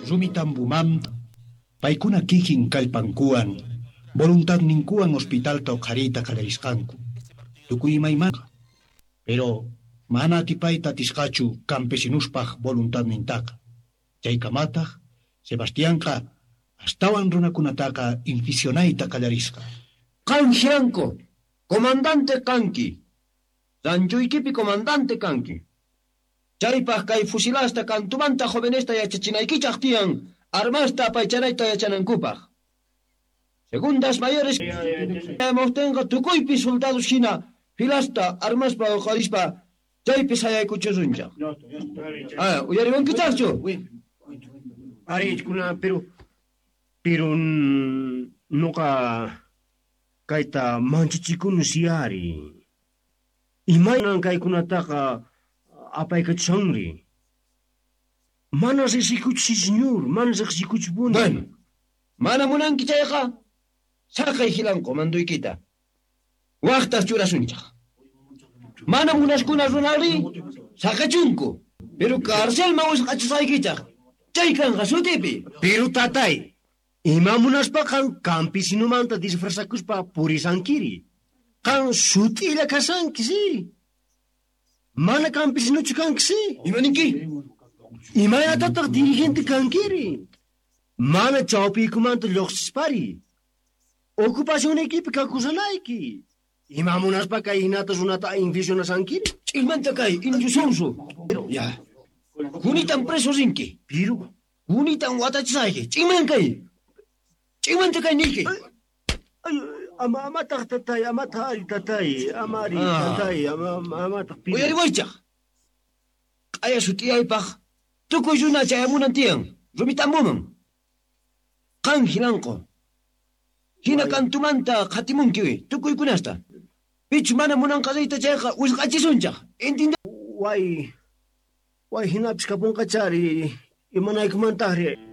Rumitambumanta paykuna kikin kallpankuwan voluntadninkuwan hospitalta uqhariyta qallarisqanku. Tukuy imaymana. Pero mana atipayta atisqachu campesinuspaj voluntadnintaqa. Chaykamataq Sebastianqa astawan runakunataqa inficionayta qallarisqa. Qan Giranco, comandante kanki. Ranchuykipi comandante kanki. Chaypaj kay fusilasta kantumanta jovenesta yachachinaykichaj tiyan armasta apaychanayta yachanankupaj. Segundas mayores chayamuqtinqa tukuypi soldados hina filasta armaspa uqharispa chaypi sayaykuchisunchaj. Ah, uyariwankichajchu? Ari, kuna, pero noqa kayta manchachikuni siari. Imaynan kaykunataqa apaykachanri. Mana riqsikuchu, señor, mana riqsikuchupuni. Bueno, mana munanki chayqa saqay hilanqu manduykita. Waqtas churasunchaj. Mana munaskuna runari saqachunku. Pero carcelman wisq'achisqaykichaj. Chay kanqa sutipi. Pero tatay, ima munaspa qan campesinomanta disfrazakuspa purisankiri. Qan sut'illa kasanki, si. Mana campesinochu kanki, si. Ima ninki? Imaynatataq dirigente kankiri? Mana chawpiykumanta lluqsispari. Ocupacionaykipi kakusanayki. Ima munaspa kay hinata runata inficionasankiri? Ch'inmanta kay indio sonso. Ya. Kunitan preso rinki. Pero Kunitan watachisayki. Ch'inman kay. Ch'inmanta kay niyki. Ay, ama amataq tatay, amataq ari tatay, ama ari tatay, ama amataq pero. Uyariwaychaj. Q'aya sut'iyaypaj tukuy runa chayamunan tiyan Rumitambuman. Qan hilanqu. Hina kantumanta qhatimunki tukuykunasta. Pichu mana munanqa riyta chayqa wisq'achisunchaj. Entiende? Way, way hinapis kapunqachari, imanaykumantaqri.